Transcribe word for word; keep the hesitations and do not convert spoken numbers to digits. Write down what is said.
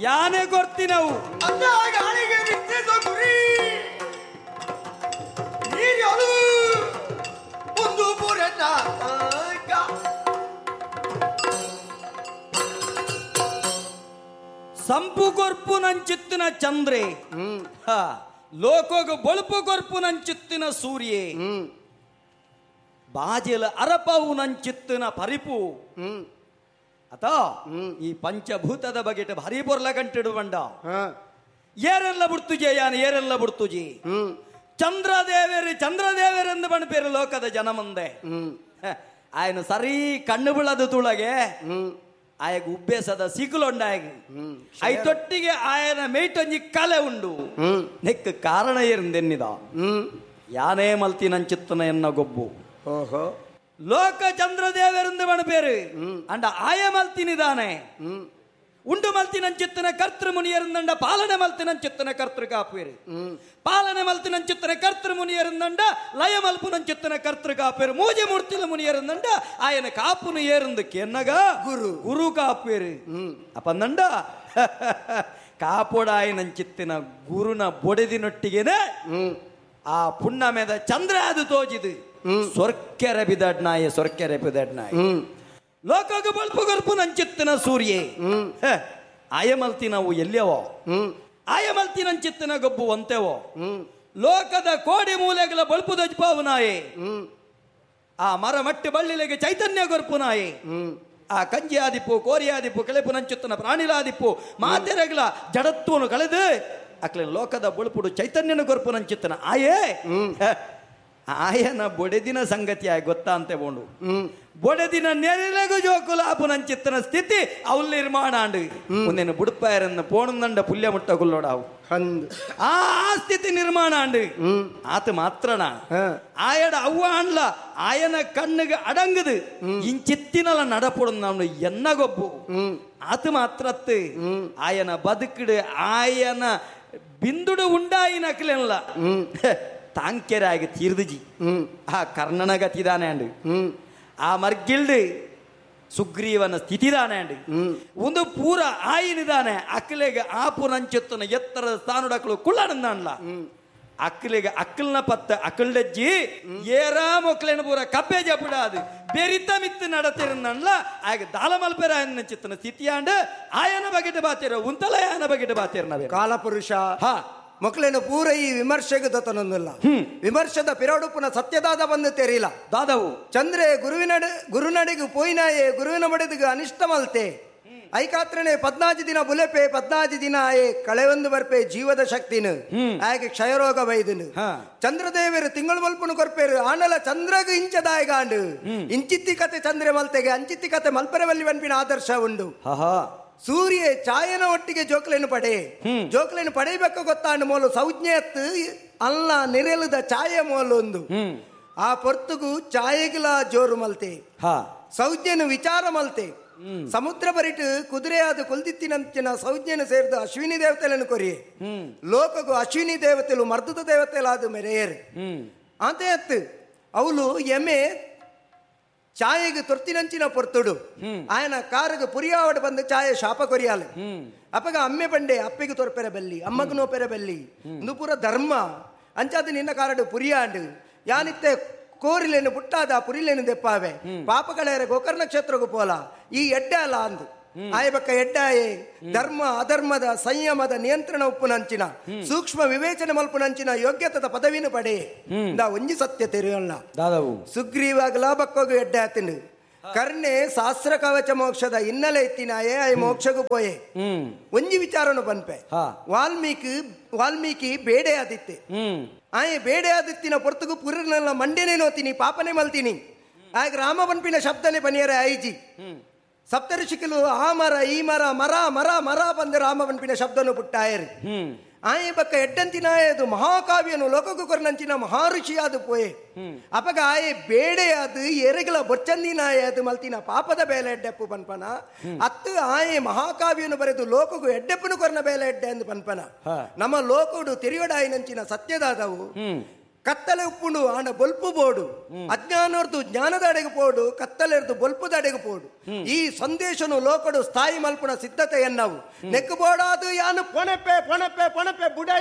ಯಾನೆ ಗೊರ್ತಿನವು ಸಂಪು ಕೊರ್ಪು ನಂಚಿತ್ತಿನ ಚಂದ್ರೆ, ಲೋಕೋಗ ಬೊಳುಪು ಕೊರ್ಪು ನಂಚಿತ್ತಿನ ಸೂರ್ಯೆ, ಬಾಜೆಲ ಅರಪವು ನಂಚಿತ್ತಿನ ಪರಿಪು. ಅತ ಈ ಪಂಚಭೂತದ ಬಗೆಟ ಭಾರಿ ಪೊರ್ಲ ಕಂಟಿಡು ಬಂಡ. ಏರೆಲ್ಲ ಬಿಡ್ತುಜೆ ಯಾನ್ ಏರೆಲ್ಲ ಬಿಡ್ತುಜಿ. ಚಂದ್ರದೇವೇರಿ ಚಂದ್ರದೇವರೆಂದು ಬಣ್ಪೇರು ಲೋಕದ ಜನ ಮುಂದೆ. ಆಯನ ಸರಿ ಕಣ್ಣು ಬೀಳದು ತುಳಗೆ ಆಯಗ ಉಬ್ಬೇಸದ ಸಿಗುಲೊಂಡಾಯಗ I ತೊಟ್ಟಿಗೆ ಆಯನ ಮೇಟೊಂಜಿ ಕಲೆ ಉಂಡು. ನೆಕ್ ಕಾರಣ ಏರಿಂದೆನ್ನಿದ ಯಾನೇ ಮಲ್ತಿ ನಂಚಿತ್ತನ ಎನ್ನ ಗೊಬ್ಬು. ಲೋಕ ಚಂದ್ರದೇವರೆಂದು ಬಣಪೇರು ಅಂಡ ಆಯ ಮಲ್ತಿನಿದಾನೆ. ಉಂಡು ಮಲ್ತಿನಂಚಿತ್ತನ ಕರ್ತೃ ಮುನಿಯರಿಂದಂಡ ಪಾಲನೆ ಮಲ್ತಿನಂಚಿತ್ತನ ಕರ್ತೃ ಕಾಪೇರು. ಪಾಲನೆ ಮಲ್ತಿನಂಚಿತ್ತನ ಕರ್ತೃ ಮುನಿಯರಿಂದಂಡ ಲಯ ಮಲ್ಪುನಂಚಿತ್ತನ ಕರ್ತೃ ಕಾಪೇರು. ಮೂಜೆ ಮೂರ್ತಿಲ ಮುನಿಯರಿಂದಂಡ ಆಯನ ಕಾಪುನು ಏರಂದು ಕೆನ್ನಗ ಗುರು ಗುರು ಕಾಪೇರು. ಅಪಂದಂಡ ಕಾಪೋಡಾಯನಂಚಿತ್ತಿನ ಗುರುನ ಬೊಡೆದಿನೊಟ್ಟಿಗೆನೆ ಆ ಪುಣ್ಣಮೆದ ಚಂದ್ರ ಅದು ತೋಜಿದು ಸೊರ್ಕೆರೆ ಬಿದಡ್ನಾಯ ಸೊರ್ಕೆರೆ ಬಿದಡ್ನಾಯ. ಲೋಕಗ ಬಲ್ಪು ಗರ್ಪು ನಂಚಿತ್ತಿನ ಸೂರ್ಯೆ ಆಯಮಲ್ತಿ ನಾವು ಎಲ್ಲಿಯವೋ ಆಯಮಲ್ತಿ ನಂಚಿತ್ತಿನ ಗೊಬ್ಬು ಒಂತೆವೋ. ಲೋಕದ ಕೋಡಿ ಮೂಲೆಗಳ ಬಲ್ಪು ದಜ್ಪಾವು ನಾಯೆ. ಆ ಮರ ಮಟ್ಟಿ ಬಳ್ಳಿಲೆಗೆ ಚೈತನ್ಯ ಗೊರ್ಪು ನಾಯೆ. ಆ ಕಂಜಿ ಆದಿಪ್ಪು ಕೋರಿ ಆದಿಪ್ಪು ಕೆಳೆಪು ನಂಚುತ್ತನ ಪ್ರಾಣಿಲಾದಿಪ್ಪು ಮಾತೆರಗಳ ಜಡತ್ವನು ಕಳೆದು ಅಕ್ಲೆ ಲೋಕದ ಬೊಳುಪುಡು ಚೈತನ್ಯನ ಗೊರ್ಪು ನಂಚಿತ್ತನ ಆಯೇ. ಆಯನ ಬೊಡೆದಿನ ಸಂಗತಿ ಆಯ್ ಗೊತ್ತಾ ಅಂತೆ ಬೋಂಡು. ಬೊಡೆದಿನ ನೆರೆಲಗು ಜೋಕುಲ ಆಪು ನಂಚಿತ್ತನ ಸ್ಥಿತಿ ಅವಳು ನಿರ್ಮಾಣ ಅಂಡು ಒಂದೇನು ಬುಡುಪಾಯರನ್ನು ಪೋಣಂದಂಡ ಪುಲ್ಯ ಮುಟ್ಟ ಗುಲ್ಲೋಡಾವು ಆ ಸ್ಥಿತಿ ನಿರ್ಮಾಣ ಅಂಡು. ಆತ ಮಾತ್ರನ ಆಯಡ ಅವ್ವ ಅಣ್ಲ ಆಯನ ಕಣ್ಣಿಗೆ ಅಡಂಗದು ಇಂಚಿತ್ತಿನಲ ನಡಪೊಡು ನಾನು ಎನ್ನಗೊಬ್ಬು. ಆತ ಮಾತ್ರತ್ತು ಆಯನ ಬದುಕಿಡು ಆಯನ ಬಿಂದುಡು ಉಂಡಾಯಿನ ಅಕ್ಲೆಲ್ಲ ತಾಂಕೆರಾಗಿ ತೀರ್ದುಜಿ. ಆ ಕರ್ಣನ ಗತಿದಾನೆ ಅಂಡು, ಆ ಮರ್ಗಿಲ್ಡು ಸುಗ್ರೀವನ ಸ್ಥಿತಿದಾನೆ ಅಂಡು, ಒಂದು ಪೂರ ಆಯಿನಿದಾನೆ. ಅಕ್ಲೆಗೆ ಆಪು ನಂಚುತ್ತನ ಎತ್ತರದ ಸ್ಥಾನುಡಕ್ಲು ಕುಳ್ಳನಂದಾನ್ಲ. ಅಕ್ಲೆಗೆ ಅಕ್ಕಲ್ನ ಪತ್ತ ಅಕ್ಕಲ್ಡಜ್ಜಿ ಏರಾ ಮೊಕ್ಲೇನ ಪೂರ ಕಬ್ಬೆ ಜಪುಡಾದು ಬೆರಿತ ಮಿತ್ತು ನಡತಿರಂದನ್ಲ. ಆಗ ದಾಲ ಮಲ್ಪೆರ ಚಿತ್ತನ ಸ್ಥಿತಿಯಾಂಡು ಆಯನ ಬಗೆಟ ಬಾತಿರ ಉಂತಲ ಆಯನ ಬಗೆಟ ಬಾತಿರ ನಾವೇ ಕಾಲಪುರುಷ. ಹಾ ಮಕ್ಕಳೇನು ಪೂರ ಈ ವಿಮರ್ಶೆಗೆ ದತ್ತನೊಂದಿಲ್ಲ. ವಿಮರ್ಶದ ಪಿರಾಡುಪುನ ಸತ್ಯದಾದ ಬಂದು ತೆರಿಲ್ಲ ದಾದವು. ಚಂದ್ರೆ ಗುರುವಿನ ಗುರುನಡೆಗೆ ಪೋಯಿನಾಯೆ ಗುರುವಿನ ಮಡೆದಿಗೆ ಅನಿಷ್ಟ ಮಲ್ತೆ ಐಕಾತ್ರನೆ ಪದ್ನಾಜಿ ದಿನ ಬುಲೆಪೆ ಪದ್ನಾಜಿ ದಿನ ಆಯೆ ಕಳೆವೊಂದು ಬರ್ಪೆ ಜೀವದ ಶಕ್ತಿನ ಆಯಗೆ ಕ್ಷಯರೋಗ ಬೈದನು. ಚಂದ್ರದೇವರು ತಿಂಗಳು ಮಲ್ಪನು ಕೊರ್ಪೇರು ಆನಲ ಚಂದ್ರಗ ಇಂಚದಾಯಗಾಂಡು ಇಂಚಿತ್ತಿ ಕತೆ ಚಂದ್ರೆ ಮಲ್ತೆಗೆ ಅಂಚಿತ್ತಿ ಕತೆ ಮಲ್ಪೆರವಲ್ಲಿ ವನ್ಪಿನ ಆದರ್ಶ ಉಂಡು. ಸೂರ್ಯ ಛಾಯನ ಒಟ್ಟಿಗೆ ಜೋಕ್ಲೇನು ಪಡೆ ಜೋಕ್ಲೇನು ಪಡೆಯಬೇಕು ಗೊತ್ತಾಂಡು ಮೋಲು ಸೌಜ್ಞೆಯತ್ತು ಅಲ್ಲ ನೆರೆಲದ ಛಾಯೆ ಮೋಲು ಒಂದು ಆ ಪೊರ್ತುಗು ಛಾಯೆಗಿಲ ಜೋರು ಮಲ್ತೆ ಸೌಜ್ಞೆನು ವಿಚಾರ ಮಲ್ತೆ. ಸಮುದ್ರ ಬರಿಟು ಕುದುರೆಯಾದ ಕೊಲ್ದಿತ್ತಿನಂಚಿನ ಸೌಜ್ಞೆನು ಸೇರಿದ ಅಶ್ವಿನಿ ದೇವತೆలను ಕೊರಿಯೆ ಲೋಕಗು ಅಶ್ವಿನಿ ದೇವತೆಲು ಮರ್ದದ ದೇವತೆಲಾದ ಮೆರೆಯರು ಅಂತೆ ಅತ್ತು ಅವಳು ಎಮೆ ಛಾಯೆಗೆ ತೊರ್ತಿನಂಚಿನ ಪೊರ್ತುಡು ಆಯನ ಕಾರಿಗೆ ಪುರಿಯಾವಡ ಬಂದು ಛಾಯೆ ಶಾಪ ಕೊರಿಯಾಲೆ. ಅಪ್ಪಗ ಅಮ್ಮೆ ಬಂಡೆ ಅಪ್ಪೆಗೆ ತೊರ್ಪೆರ ಬೆಲ್ಲಿ ಅಮ್ಮಗ ನೋಪೆರ ಬೆಲ್ಲಿ ಇಂದು ಪೂರ ಧರ್ಮ ಅಂಚಾದ ನಿನ್ನ ಕಾರಡು ಪುರಿಯಾಂಡು ಯಾನಿತ್ತೆ ಕೋರಿಲೇನು ಪುಟ್ಟಾದ ಪುರಿಲೇನು ದೆಪ್ಪಾವೆ ಪಾಪಗಳೇರೆ ಗೋಕರ್ಣ ಕ್ಷೇತ್ರಗೂ ಪೋಲ ಈ ಎಡ್ಡೆ ಅಲ್ಲ ಅಂದು ಆಯಬಕ್ಕ ಎಡ್ಡಾಯೆ ಧರ್ಮ ಅಧರ್ಮದ ಸಂಯಮದ ನಿಯಂತ್ರಣ ಉಪ್ಪುನಂಚಿನ ಸೂಕ್ಷ್ಮ ವಿವೇಚನೆ ಮಲ್ಪುನಂಚಿನ ಯೋಗ್ಯತದ ಪದವಿನ ಪಡೆ ಇಂದ ಒಂಜಿ ಸತ್ಯ ತೆರೆಯಲ್ಲ. ಸುಗ್ರೀವಾಗಲ ಬಕ್ಕೋಗು ಎಡ್ಡೆ ಆತಿನ ಕರ್ಣೆ ಶಾಸ್ತ್ರ ಕವಚ ಮೋಕ್ಷದ ಹಿನ್ನೆಲೆ ಇತ್ತಿನಾಯೇ ಆಯ್ ಮೋಕ್ಷಗೂ ಪೋಯೆ. ಒಂಜಿ ವಿಚಾರನು ಬನ್ಪೆ ವಾಲ್ಮೀಕಿ ವಾಲ್ಮೀಕಿ ಬೇಡೆ ಆದಿತ್ತೆ ಆಯ್ ಬೇಡೆ ಆದಿತ್ತಿನ ಪೊರ್ತುಗು ಪುರನೆಲ್ಲ ಮಂಡೆನೇ ನೋತೀನಿ ಪಾಪನೇ ಮಲ್ತೀನಿ ಆಗ ರಾಮ ಬನ್ಪಿನ ಶಬ್ದನೆ ಬನಿಯರೆ ಐಜಿ ಸಪ್ತಋಷಿಕಲು ಆ ಮರ ಈ ಮರ ಮರ ಮರ ಮರ ಬಂದು ರಾಮ ಬನ್ಪಿನ ಶಬ್ದನು ಪುಟ್ಟಾಯರು. ಆಯೆ ಬಕ್ಕ ಎಡ್ಡಂತಿನಾಯದು ಮಹಾಕಾವ್ಯನು ಲೋಕಕ್ಕೂ ಕೊರನಂಚಿನ ಮಹರ್ಷಿಯಾದ ಪೋಯೆ. ಅಪಗ ಆಯೆ ಬೇಡೆಯಾದು ಎರೆಗಲ ಬೊಚ್ಚಂದಿನಾಯದು ಮಲ್ತಿನ ಪಾಪದ ಬೇಲೆ ಎಡ್ಡೆಪ್ಪು ಪನ್ಪನ ಅತ್ತು ಆಯೆ ಮಹಾಕಾವ್ಯನು ಬರೆದು ಲೋಕಗೂ ಎಡ್ಡೆಪ್ಪನು ಕೊರನ ಬೇಲೆ ಎಡ್ಡೆ ಎಂದು ಪನ್ಪನ. ನಮ್ಮ ಲೋಕಡು ತಿರಿಯೊಡಾಯಿನಂಚಿನ ಸತ್ಯದಾದವು ಕತ್ತಲೆ ಉಪ್ಪುಂಡು ಆಂಡ ಬೊಲ್ಪು ಬೋಡು. ಅಜ್ಞಾನರ್ದು ಜ್ಞಾನದ ಅಡೆಗೆ ಪೋಡು, ಕತ್ತಲೆರ್ದು ಬೊಲ್ಪುದ ಅಡೆಗೆ ಪೋಡು. ಈ ಸಂದೇಶನು ಲೋಕಡು ಸ್ಥಾಯಿ ಮಲ್ಪುನ ಸಿದ್ಧತೆ ಎನ್ನವು. ನೆಕ್ಕು ಬೋಡಾದು ಯಾನು ಪೊಣೆಪೆ ಪೊಣೆಪೆ ಪೊಣೆಪೆ ಬುಡೈ.